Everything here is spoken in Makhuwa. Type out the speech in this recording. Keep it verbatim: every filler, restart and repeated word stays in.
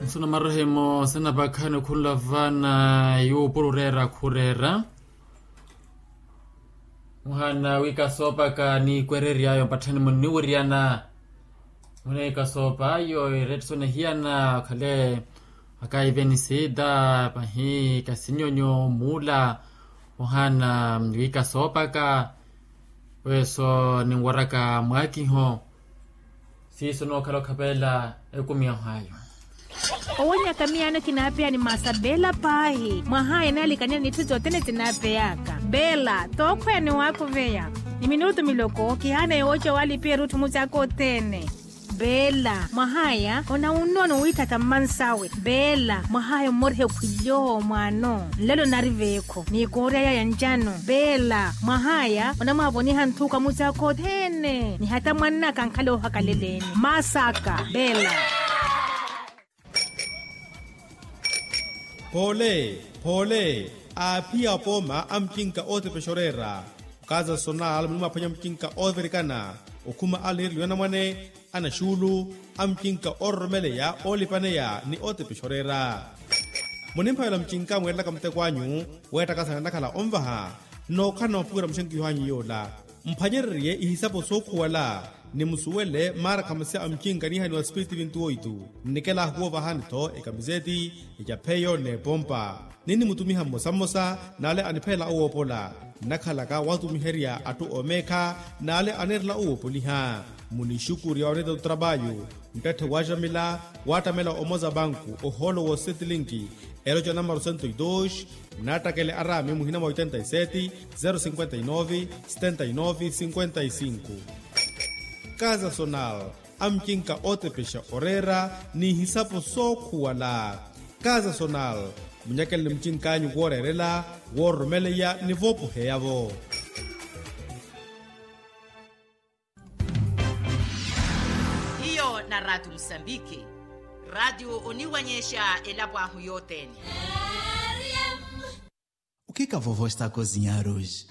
Suna marehemo sanapakhani okhunla vana yuupura oreera khureera. Muhana wika soopaka ni kwerery'ayo mpatthani munniwiryana. Muhana wika soopaka ayo eretthu sona ehiyana okhale akaivenisita pahi kasinyonyo muula. Muhana wika soopaka weso ninwaraka mwakiho. Siiso nookhala okhapelela ekumi yahayo. Owonyaka miyaano kinaapeya ni masa beela paahi mwahaya naalikanyani n'itthu sothene sinaapeyaka. Beela tookhweya ni waakuveya ni minutu miloko kihaana yooca waalipiya erutthu mucaaka othene. Beela mwahaya onawunnono wiithatha mmansawe. Beela mwahaya ommoriha ekhwilyoho mwaano nlelo nari veekho ni koorya yaya ncano. Beela mwahaya onamwaavoniha nthuka mucaaka othene ni hata mwannaka ankhale oohakaleleeni. Masaka beela. Poole poole aaphiya apooma a mucinka ootepexa oreera. Okaza sonal munimwaphwanya mucinka oovirikana okhuma a liiriliwa anamwane anaxuulu a mucinka oororomeleya oolipaneya ni ootepexa oreera. Munimphavela mucinka mweerelaka muteko anyu weettakasana nnakhala onvaha nnookhala na maphuwela muxenkiho anyu yoola. Mphwanyererye ihisapo sookhuwala ni musuwele maara khamasya a mucinka niihaniwa sipiriti vintu oitu. Nnikela ahuwoovahani-tho ekamiseti ecapheyo n'epompa. Ninnimutumiha mmosa mmosa n'ale aniphelela owoopola nnakhalaka watumiherya atthu oomeekha n'ale anirela owoopoliha. Munixukurya oneeta otrapayu nttatthe waaxamila waattamela omoza banku ohoolo woosettilinki eroca namaru sento e dos. Nnattakele araami muhina mwa oitenta e seti zero cinquenta e nove setenta e nove cinquenta e cinco. Kaza sonal a mucinka ootepexa oreera n'ihisapo sookhuwala. Kaza sonal munyakelele mucink'anyu wooreerela woororomeleya ni voopoheya-vo. Hiyo na raatiyo musambiki. Raatiyo oniwanyexa elapo ahu yothene. Okhika vovo estako zinyaruji.